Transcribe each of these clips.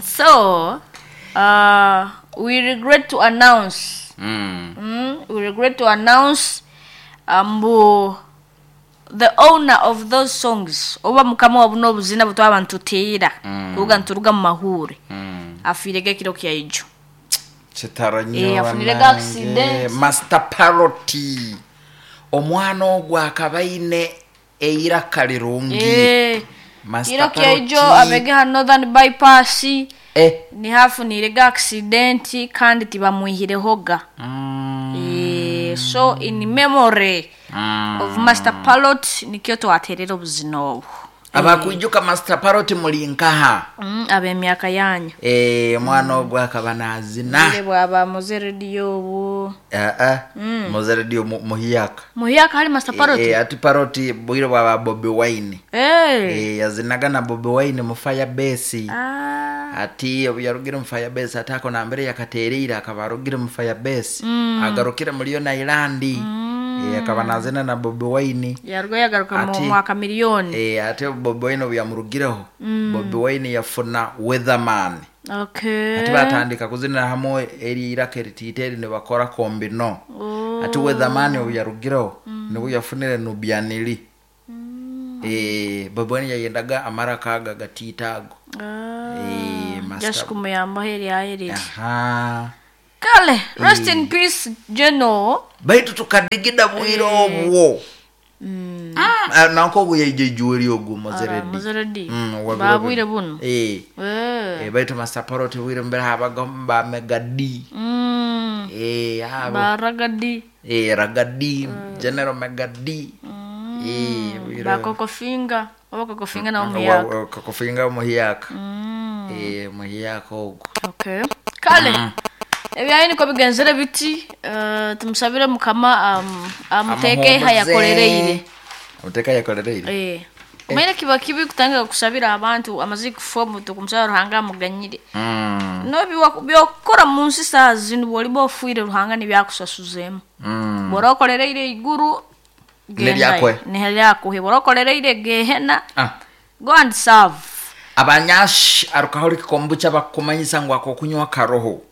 So we regret to announce, we regret to announce mbu the owner of those songs, oba mukama wa buno obuzina butwaba ntutiira kuruga nturuga mu mahure, afiirege ekiro kyaijo. Kitaro nnyo. Afunire Bannange. Accident. Master Parrot, omwana ogwo akaba aine eiraka lirungi. Master Kiro kyaijo Parrot. abege ha Northern Bypass nihafunirege accident kandi tibamwihirehoga. So in memory of Master Parrot nikyo twaterera obuzina obwo. Abakwijuka Master Parrot muli nkaha? Ab'emyaka yanyu. Omwana ogwo akaba nazina. Bwire bwaba muze rediyo obwo. Ah, muze radio muhiyaka. Muhiyaka hari Master Parrot. Ati Parrot bwire bwaba Bobi Wine. Yazinaga na Bobi Wine mu Firebase. Ati obu yarugire mu Firebase, ati ako nambere yakatereire akaba arugire mu Firebase, agarukire muri yo Nailandi. Akaba nazina na Bobi Wine. Yaruga yagaruka mu mwaka miliyoni. Ate Bobi Wine obu yamurugireho, Bobi Wine yafuna Weatherman. Ati batandika kuzinira hamwe eri iraka eritiita eri nibakora kombino. Ati Weatherman obu yarugireho nibwo yafunire Nubianili. Bobi Wine yayendaga amaraka aga gatiita ago. Just kumuyambaho eryayo. Aha. Kale, rest in peace, General. Baitu tukadigida bwire obwo. Nanko ogu yaija ijuweri ogu mozeredi. Muzeredi. Wabiro. Babwire buno. Baitu Master Parrot bwire mbere habaga ba Mega D. Abo. Baragadi. Ragadi, General Mega D. Bwire. Bakokofinga oba kokofinga nawo muyaka. Kokofinga muhiyaka. Muhiyaka ogwo. Okay, kale ebyayo niko bigenzere biti. Tumusabire Mukama amuteeke Amuhumuze. hayakolereire. Amuteeke hayakolereire. Omaire kiba kibi kutandika kusabira abantu amaze kufa omuntu, kumusaba Ruhanga amuganyire. No byokukora mu nsi saa zinu, bwoliba ofiire Ruhanga nibyakusasuzemu. Bwora okolereire iguru, Neryakwe. Neryakuhe. Bwora okolereire gehena, go and serve. Abanyashi alcoholic kombucha bakumanyisa ngu akokunywa karoho,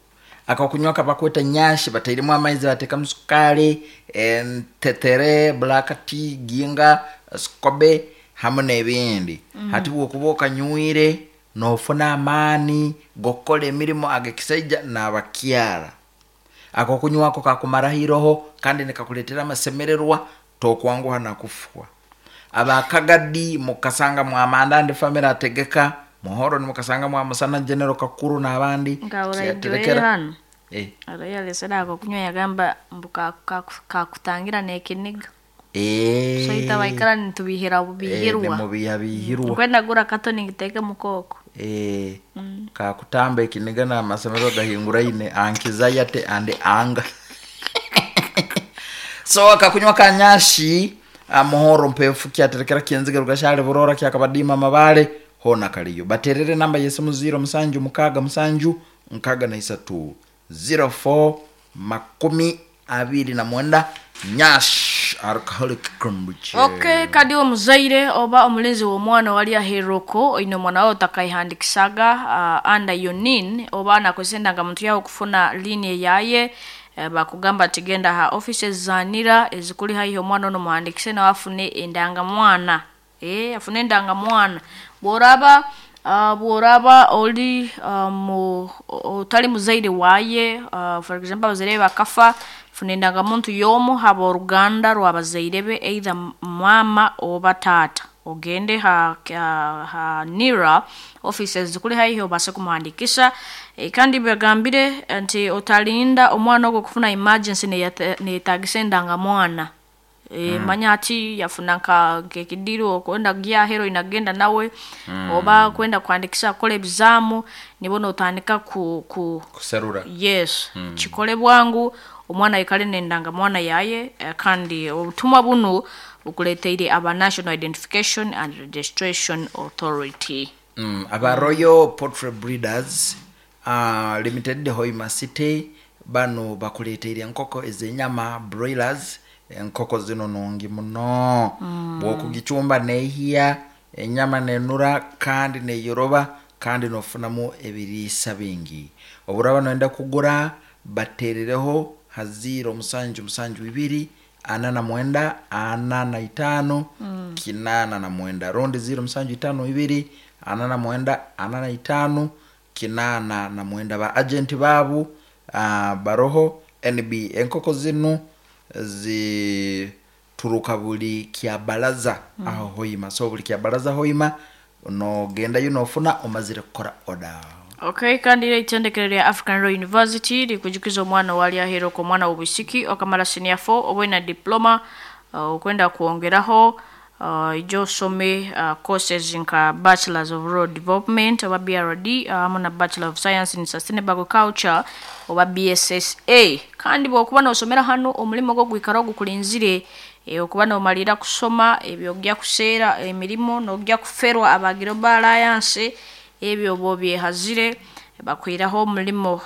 akokunywa kabakweta nyashi, batairemu amaizi, batekamu sukari, entetere, black tea, ginga, sikobe hamwe n'ebindi. Hati bwokuba okanywire nofuna amaani gokukora emirimo agekisaija n'abakyara. Akokunywako kakumaraho iroho kandi nikakuletera amasemererwa, tokwanguha nakufwa. Abakagadi mukasanga mwamanda ndi family ategeka muhoro, nimukasanga mwamusana General Kakuru n'abandi. Nga Kyaterekera. hano arayalesera ako kunywa, yagamba mbu kakutangira nekiniga. So ita baikara nitubihira bubihirwa. Nimubihabihirwa. Nkwenda gura kato ningiteke mukoko. Kakutamba ekiniga n'amasomero gahinguraine, anxiety and anger. So akakunywa kanyashi amuhoro mpefu kyaterekera kyenziga rugashale burora kyakabadima mabale hona kaliyo. Baterere namba yesimu 0767 63 04 29. Nyash alcoholic kombucha. Okay, kadi omuzaire oba omulinzi w'omwana wali aheroko oine omwana wawe otakaihandikisaga under your NIN, oba nakozesa endangamuntu yawe okufuna lini eyaye, bakugamba ati genda ha offices za NIRA ezikuli haihi, omwana ono muhandikise nawe afune endangamwana. Afune endangamwana. Bworaba oli otali muzaire waye, for example abazaire be bakafa, funa endangamuntu y'omu haba oruganda rw'abazaire be, either mama oba taata, ogende ha NIRA offices zikuli haihi obase kumuhandikisha. Kandi bagambire nti otalinda omwana ogwo kufuna emergency neyetagisa endangamwana. Manya ati yafuna nka nk'ekidiiro okwenda gyahero inagenda nawe, oba kwenda kuhandikisha kukola ebizamu, nibo notandika ku kuserura. Yes, kikole bwangu omwana aikale nendangamwana yaye. Kandi obutumwa bunu bukuleteire aba National Identification and Registration Authority. Aba Royal Poultry Breeders Limited, Hoima City, bano bakuleteire enkoko ez'enyama, broilers. Enkoko zino nungi muno. Bwokugicumba nehiya. Enyama nenura kandi neyoroba kandi nofunamu ebiriisa bingi. Oburaba noyenda kugura, baterereho ha 0772 49 45 89 rundi 0752 49 45 89. Ba agenti babu baroho NB. Enkoko zinu zituruka buli kyabalaza aho Hoima. So buli kyabalaza Hoima nogendayo nofuna omazire kukora oda. Okay, kandi ira itendekero lya African Royal University likujukiza omwana wali ahero ko omwana w'obwisiki okamara senior 4 oba na diploma, okwenda kwongeraho, ijo osome courses nka Bachelors of Rural Development oba BRD, hamu na Bachelor of Science in Sustainable Agriculture oba BSSA. Kandi bwokuba nosomera hano omulimo gwo gwikara ogukulinzire, okuba nomalira kusoma ebyo ogya kuseera emirimo nogya kuferwa aba Global Alliance, ebyo oba obyehazire bakwiraho omulimo.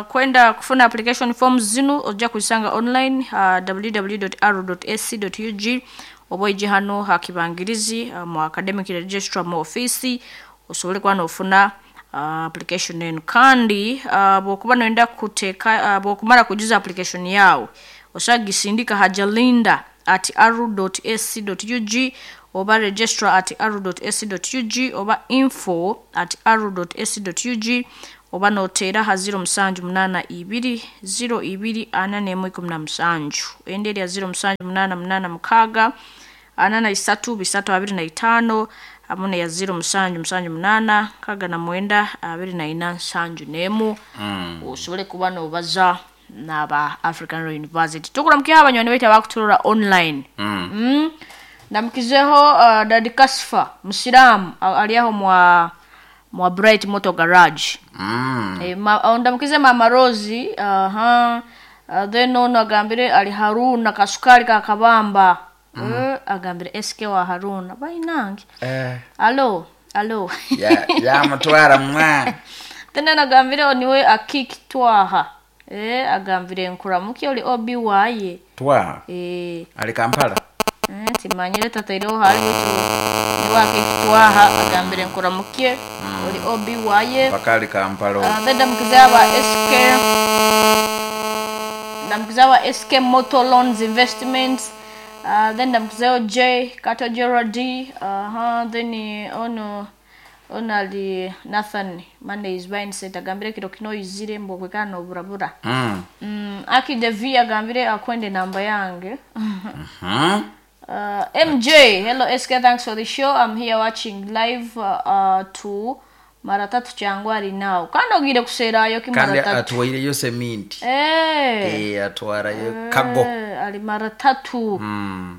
Kwenda kufuna application forms zinu ojja kuzisanga online www.r.ac.ug oba oije hano ha kibangirizi, mu academic registrar mu ofisi osobole kuba nofuna application enu. Kandi bwokuba noyenda kuteeka, bwokumara kujuza application yawe osobola kugisindika ha jalinda@r.ac.ug oba registrar@r.ac.ug oba info@r.ac.ug oba noteera ha 0782 02 41 17, endi erya 0788 6 43 25 hamu neya 0778 69 24 71. Osobole kuba nobaza n'aba African Royal University. Tukuramukiho abanywani baitu abakuturora online. Ndamukizeho Dadi Kasfa musiramu, ali aho mwa Bright Motor Garage. Ndamukize Mama Rosi, aha. Then ono agambire ali Haruna kasukari ka Kabamba. Agambire SK wa Haruna bainange. Alo alo. Ya yamutwara mwa. Then anagambire oniwe akiki twaha. Agambire nkuramuki oli obi waye. Twaha. Ali Kampala. Timanyire tataireho hali wetu niwe akiki twaha agambire nkuramukie oli obi waye. Paka ali Kampala. Then ndamukize aba SK, ndamukize aba SK Motor Loans Investments. Then ndamukizeho J Kato Gerald. Then ono ono ali Nathan Monday is mindset agambire kiro kino izire mbo kwekana noburabura. Aki Devi agambire akwende namba yange. MJ, hello SK, thanks for the show. I'm here watching live to mara tatu changwari now. Kandi ogire kuserayo ki Kandi mara tatu. Atwaireyo seminti. Atwarayo kago. Ali mara tatu.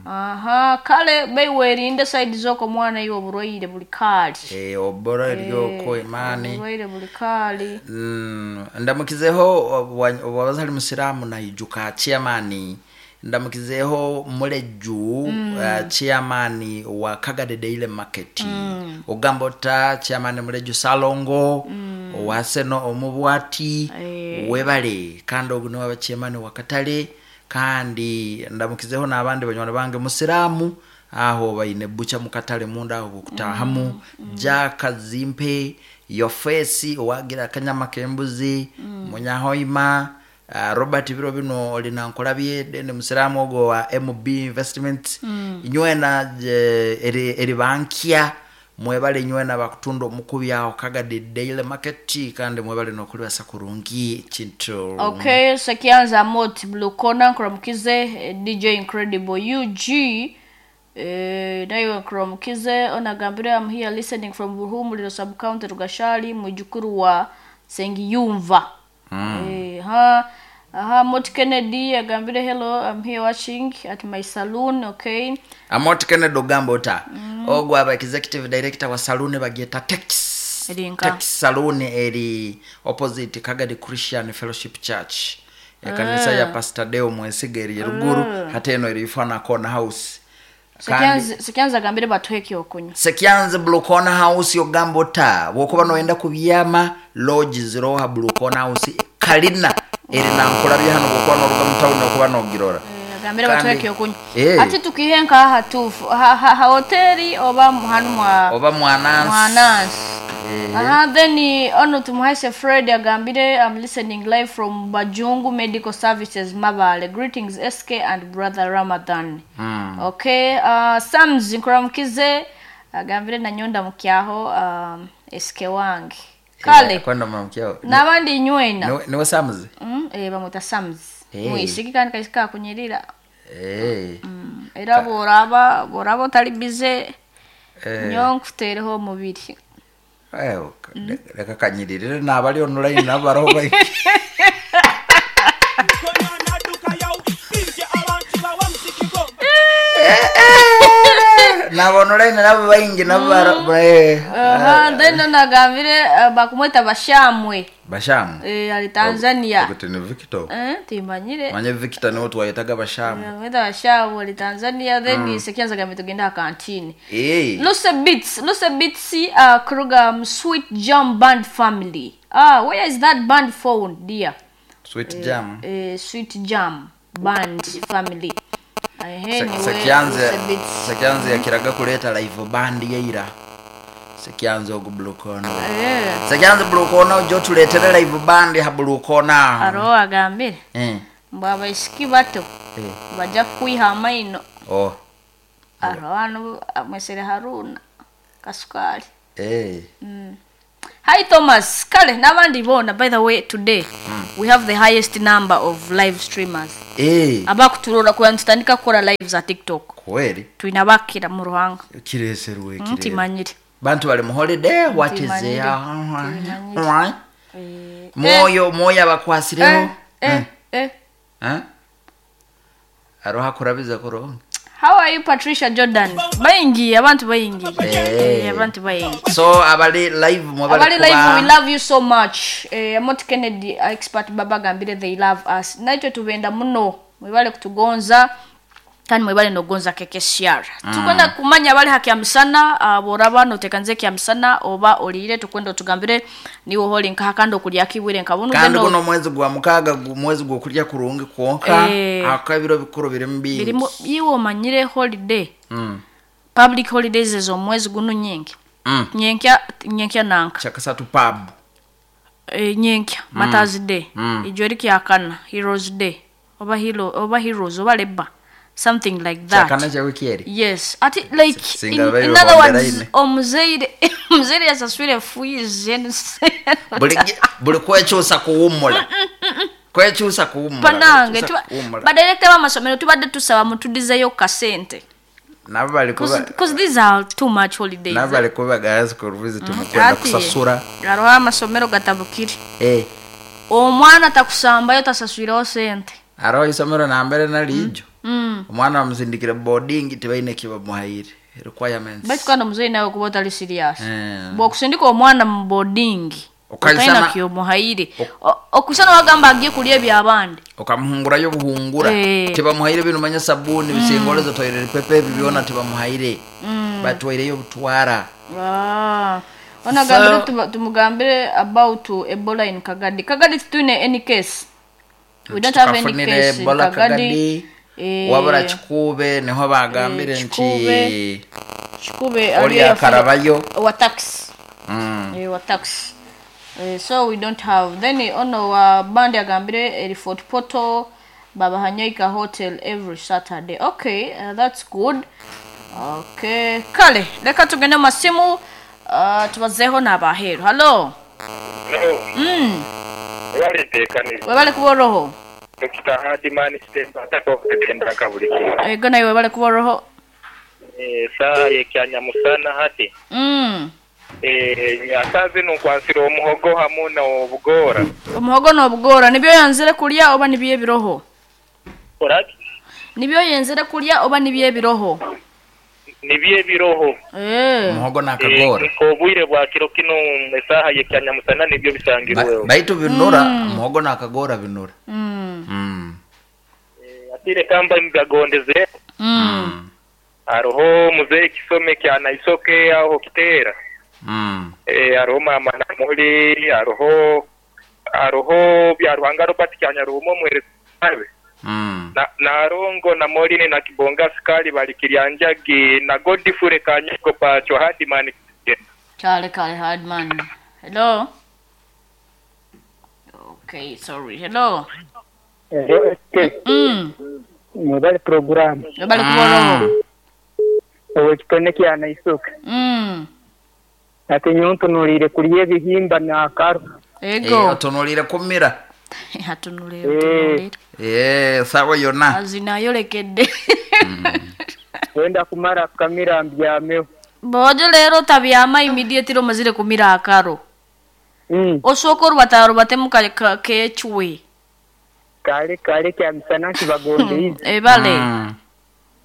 Aha, kale beiwerinde side zoko mwana iwe oburwaire buli kali. Obora eryoko imani. Oburwaire buli kali. Ndamukizeho owabaza ali musiramu na ijuka chairman. Ndamukizeho muleju, chairman wa Kagade Daily Market. Ogambota chairman muleju Salongo, owaseno omubwati, webale kandi ogu niwe chairman wa Katale. Kandi ndamukizeho n'abandi banywana bange musiramu aho baine bucha mukatale munda aho kutahamu. Jaka Zimpe Yofesi owagira akanyama kembuzi, Munyahoima, Robert biro bino oli nankolabye dende musiramu ogo wa MB Investment. Inywena eri bankia mwebale inywena bakutunda omukubi aho Kagade Daily Market kandi mwebale nokulibasa kurungi kintu. Okay, sekianza mot Blue Corner nkuramukize, DJ Incredible UG, nayo nkuramukize onagambire I'm here listening from Buhumuliro sub county Rugashali mujukuru wa Sengiyumva. Aha, Mot Kennedy agambire hello, I'm here watching at my saloon. Okay. Amot Kennedy ogamba ota ogwo aba executive director wa saloon bagyeta Tex. Erinka. Tex Saloon eri opposite Kagadi Christian Fellowship Church. Ekanisa ya Pastor Deo Mwesiga eri ruguru hata eno eri ifana corner house. Sekianza agambire batuhe okunywa. Sekianza Blue Corner House yogamba ota bwokuba noyenda kubyama lodge ziroha Blue Corner House kalina eri nankolabye hano bwokuba noruga mu town okuba nogirora. Agambire Kandi- batweke okunywa. Eh. Ati tukihe nka hatufu ha hoteli oba hanu mwa Oba mwanansi. mwanansi. Eh. Aha, then ono tumuhaise Fred agambire, I'm listening live from Bajungu Medical Services Mabale. Greetings SK and brother Ramadan. Okay, Sams nkuramukize agambire nanyonda mukyaho SK wange. Kale Eh, kwenda mukyaho. n'abandi nywena. Niwe Sams? Bamwita Sams. Eh. Mwisiki kandi kaisika kunyirira. Eh. Era boraba otali bize Eh. nyo nkuteereho omubiri. Eh, leka kanyiririre n'abali online n'abaroho bai. Nabo online nabo baingi nabo Aha, then nagambire bakumweta Bashamwe. Bashamu. Ali Tanzania. Okuti ni Victor. Timanyire. Manye Victor niwe twayetaga Bashamu. Bakumweta Bashamwe ali Tanzania, then sekianza gambe tugenda kantini. Eh. Luce Beats, Kruger Sweet Jam Band family. Where is that band found, dear? Sweet Jam. Sweet Jam Band family. Sekyanze Luce Beats. Sekyanze yakiraga kuleta live band yeira. Sekyanze ogu Blue Corner. Sekyanze Blue Corner ojo tuletere live band ha Blue Corner. Aro agambire. Mbu abaisiki bato. Bajja kwiha amaino. Oh. Aro hano mwesere Haruna Kasukali. Hi Thomas. Kale n'abandi bona, by the way today we have the highest number of live streamers. Abakuturora kuya ntutandika kukora live za TikTok. Kweli. Twina bakira mu ruhanga. Kireserwe kirere. Ntimanyire. Bantu bali mu holiday, what is Ntimanyire. there? Moyo abakwasireho. Aroha kurabiza kuronga. How are you Patricia Jordan? Bayingi, abantu bayingi. Abantu bayingi. So abali live mwabali Abali live, we love you so much. Amot Kennedy expert baba gambire they love us. Naitwe tubenda muno. Mwebale kutugonza. Kandi mwebale nogonza KKCR. Tukwenda kumanya abali haki ya misana, boraba notekanze kia misana oba olire tukwenda tugambire niwo holi nkaha kandi okulya kibwire nkabunu. Kandi kuno mwezi gwa mukaga mwezi gwo kulya kurungi kwonka akabiro bikuru biri mbingi. Birimo iwo manyire holiday. Public holidays ezo mwezi guno nyingi. Nyenkya nanka. Chakasatu pub. Nyenkya Mother's Day. Ijori kyakana Heroes Day. Oba hero oba heroes oba leba. Something like that. Chakana cha wiki eri. Yes. Ati like in other words omuzeire yasaswire fees. Buli kwekyusa kuwummula. Kwekyusa kuwummula. Panange badirector b'amasomero tubadde tusaba mutudizeyo kasente. Nabo bali kuba because these are too much holidays. Nabo bali kuba guys ku visit mukwenda kusasura. Hariho amasomero gatabukire. Omwana takusambayo tasaswireho sente. Hariho isomero nambere nalijo. Omwana bamusindikire boarding tibaine kibamuhaire requirements. Baitu kandi omuzeyi nawe kuba otali serious. Bw'okusindika omwana mu boarding otalina kyomuhaire. Okusana wagamba agiye kulya ebyabandi. Okamuhungurayo buhungura. Tibamuhaire bino manya sabuni bisingolezo toilet paper ebi byona tibamuhaire. Batwaireyo butwara. Ona gambire tumugambire about Ebola in Kagadi. Kagadi tuine any case. We don't have any case in Kagadi. Wabura Chikube niho bagambire nti Chikube oli akarabayo wa tax. Wa tax. So we don't have. Then ono wa bandi agambire eri Fort Portal Baba Hanyoika Hotel every Saturday. Okay, that's good. Okay, kale leka tugende masimu tubazeho n'abaheru. Hello. Hello. Wale Webale kuboroho. Dr. Hadiman Stemba atakokutenda kabuli kiro. Ego nawe webale kuboroho. Saa yekyanya musana hati. Asaze nunkwansira omuhogo hamu na obugora. Omuhogo n'obugora nibyo yanzire kulya oba nibyo ebiroho? Oraki? Nibyo yenzere kulya oba nibyo ebiroho? Nibyo ebiroho. Omuhogo n'akagora. Obwire bwa kiro kino esaha yekyanya musana nibyo bisangirweho. Baitu binura omuhogo n'akagora binura. Atire kamba mbagondeze. Aroho muzeyi kisome kyana isoke aho kitera. Aroho mama namuli aroho bya Ruhanga Robert kyanya rumo mwereze. Na Nalongo na Moline na Kibonga Sukali bali Kiryanjagi na Godfrey Kanyogo Pacho Hardman Kigenda. Kale kale Hardman. Hello. Okay, sorry. Hello. Hello SK. Mwebale puroguramu. Webale kuba oroho. Ow'ekitone kya Naisoke. Ati nyowe ntunuliire kulya ebihimba n'akaro. Ego. Otunuliire kumira. Atunuliire otunuliire. Sawa yonna. Azina ayolekedde. Wenda kumara kukamira mbyameho. Bojo leero tabyama immediately omazire kumira akaro. Osooka orubatarubatemu kecwe. Kale kale kya misana nkibagondeize. Ebale.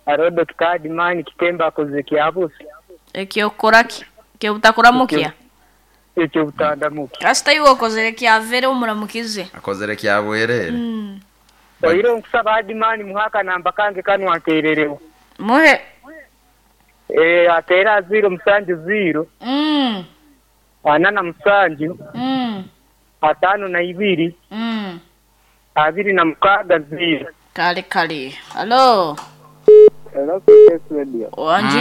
Arodo tukadimani kitemba akoze kyabusa. Ekyokukora ki? Ekyobutakoramukia? Ekyobutadamukia. Kasita iwe okozere kyavere omuramukize. Akozere kyabwerere. Oire nkusaba Adimani muhe akanamba kange kanu anteerereho. Muhe. Ateera 0 7 0. 47. 52. 26 0. Kale kale. Hello. Hello, KS Radio. Wanji.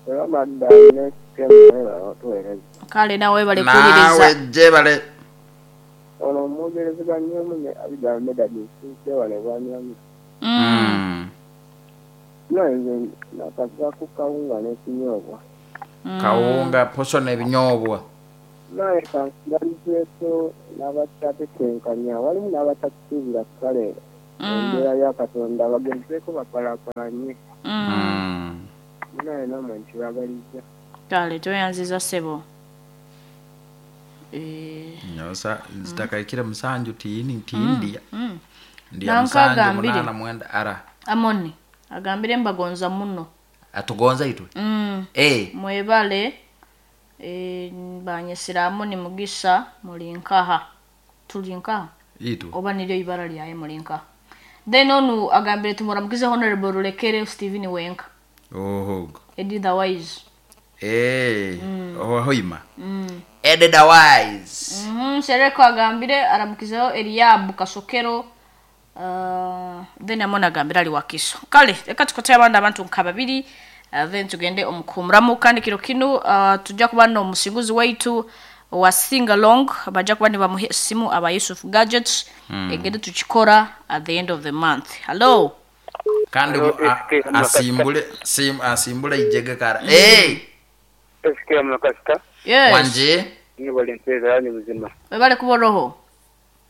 Hello, madam. Kale nawe bale kuwuliriza. Nawe jebale. Ono omuwogerezeganya omu ne Abigail Medard wano Bwanyamira. Nze nakava kawunga n'ekinyoobwa. Kawunga poso n'ebinyoobwa. Naye kansigalizeeko n'abatakyatetenkanya walimu n'abatatusuubira kale embeera ya Katonda bagezeeko bakwalakwalanye. Naye nammwe nkibagalizza. Kale tweyanziza ssebo. Nyosa zitakaikire musanju tiini tindiya. Ndiya musanju munana mwenda ara. Amoni agambire mbagonza muno. Atugonza itwe? Mwebale banyesera Amoni Mugisa mulinkaha. Tulinkaha? Itwe. Oba niryo ibara lyaye mulinkaha. Then onu agambire tumuramukize Honorable Rulekere Stephen Wenka. Oho. Edith Wise. Ohoima. Edith Wise. Sereko agambire aramukizeho Eliabu Kasokero. Then amona agambire ali Wakiso. Kale reka tukote abandi abantu nka babiri then tugende omukumuramu kandi kiro kinu tujja kuba n'omusinguzi waitu wa sing along bajja kuba nibamuha esimu aba Yusuf Gadgets egende tukikora at the end of the month. Hello. Kandi asimbule asimbule ijege kara. SK Mukasita. Yes. Wanje. Ni volunteer ni buzima. Webale kuboroho.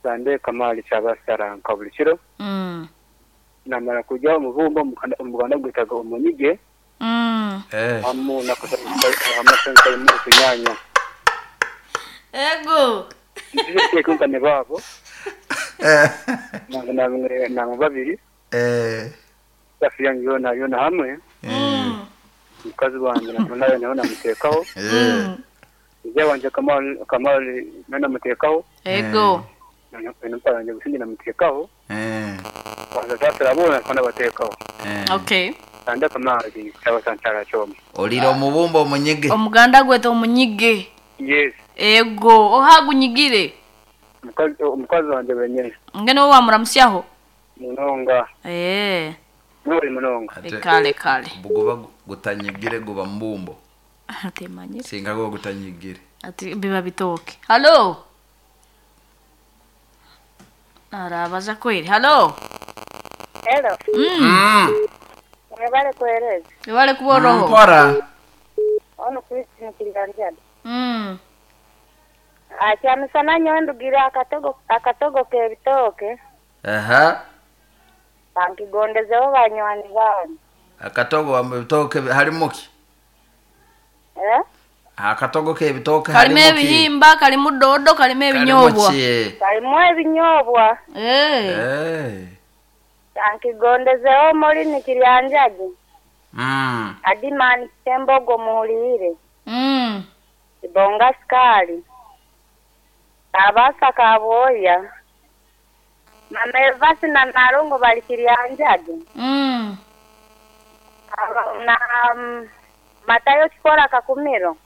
Sande Kamali kyabasara nka buli kiro. Namara kujya omubumbo omuganda gwetaga omunyige. Amu nakosa mu kunyanya. Ego. Nje ne babo. Na babiri. Safi yange yona yona hamwe. Mukazi wanjye nayo nayo namutekaho. Nje wanje Kamali namutekaho. Ego. Mpara nje gusingi namutekaho. Kwanza sasa rabona kwana batekaho. Okay. Sande Kamali cyabasantara cyoma. Oliro omubumbo omunyige. Omuganda gweta omunyige. Yes. Ego, ohagunyigire. Omukazi wanje wenyene. Ngene wowe wamuramusyaho? Munonga. Muri munonga. Kale kale. Bugoba gutanyigire guba mbumbo. Atemanye. Singa go gutanyigire. Ati biba bitoke. Hello. Arabaza kweli. Hello. Hello. Mwebale kueleza. Mwebale kuboroho. Mpora. Ono Christine Kiganjada. Akyamisana nyowe ndugira akatogo k'ebitooke. Aha. Bankigondezeho banywani bange. Akatogo ebitooke halimu ki? Akatogo k'ebitooke halimu ki? Kalimu ebihimba, kalimu dodo, kalimu ebinyoobwa. Kalimu ebinyoobwa. Bankigondezeho Morini Kiryanjagi. Adimani Kitembogo muhuliire. Ibonga Sukali. Abasa Kaboya. Mama Evasi na Nalongo bali Kiryanjagi. Na Matayo Kikora Kakumiro.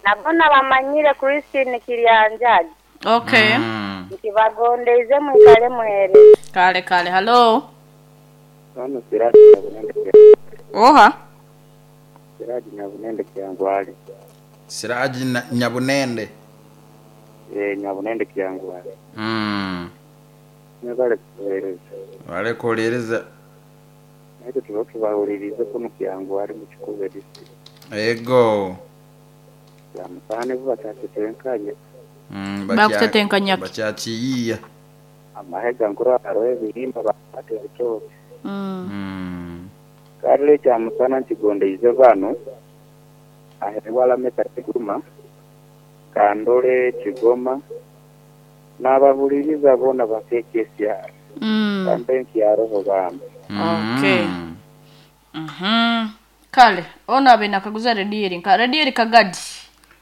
Nabona bamanyire Christine Kiryanjagi. Okay. Nkibagondeize mwikale mwere. Kale kale, hello. Ono Siraji Nyabunende. Oha. Siraji Nyabunende Kyangwali. Siraji Nyabunende. Eh, Nyabunende Kyangwali. Mwebale kutuweereza. Wale kuwuliriza. Naye tuba tubawulirize kuno Kyangwali mu Kikuube district. Ego. Byamusaane bo bakyatetenkanye. Bakutetenkanya ki? Bakyakiyiiya. Amahega nkuru hariho ebihimba bakwata ebitooke. Kale ekyamusana nkigondeize bano aheebwa Lameka Kiguma, Kandole Kigoma, n'ababuliriza boona bakeeka esyaro. Kampe nkyaroho bambi. Okay. Kale, ono abe nakaguza rediyo eri nka rediyo eri Kagadi.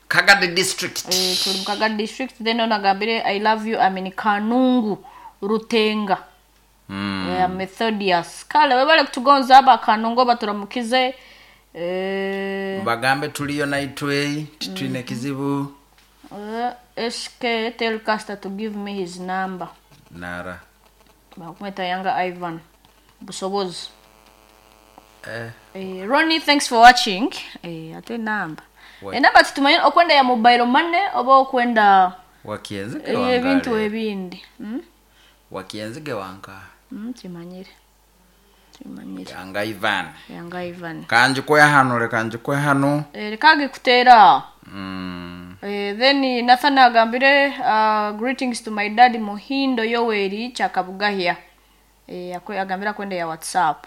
Kagadi district. Tuli mu Kagadi district, then ono agambire I love you, I mean Kanungu Rutenga. Methodius. Kale webale kutugonza aba Kanungu baturamukize. Bagambe tuliyo naitwe titwine kizibu. SK tell Caster to give me his number. Nara. Bakumeta Yanga Ivan. Busobozi. Ronnie, thanks for watching. Ate namba. Enamba tutumanye okwenda ya mobile money oba okwenda wakienzige wanka. Ebintu ebindi. Wakienzige wanka. Timanyire. Timanyire. Yanga Ivan. Yanga Ivan. Kanji kwe hano le kanji kwe hano. Kage kutera. Then Nathan agambire greetings to my dad Muhindo Yoweri Chakabugahia. Agambira kwenda ya WhatsApp.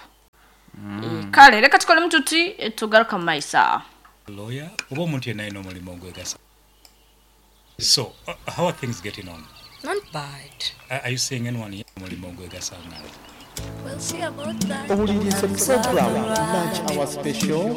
Kale reka tukole mtuti tugaruka maisa. Lawyer oba omuntu yenna alina omulimu ogwegasa. So how are things getting on? Not bad. Are you seeing anyone here omulimu ogwegasa? We'll see about that. Owuliriza program Lunch Hour Special.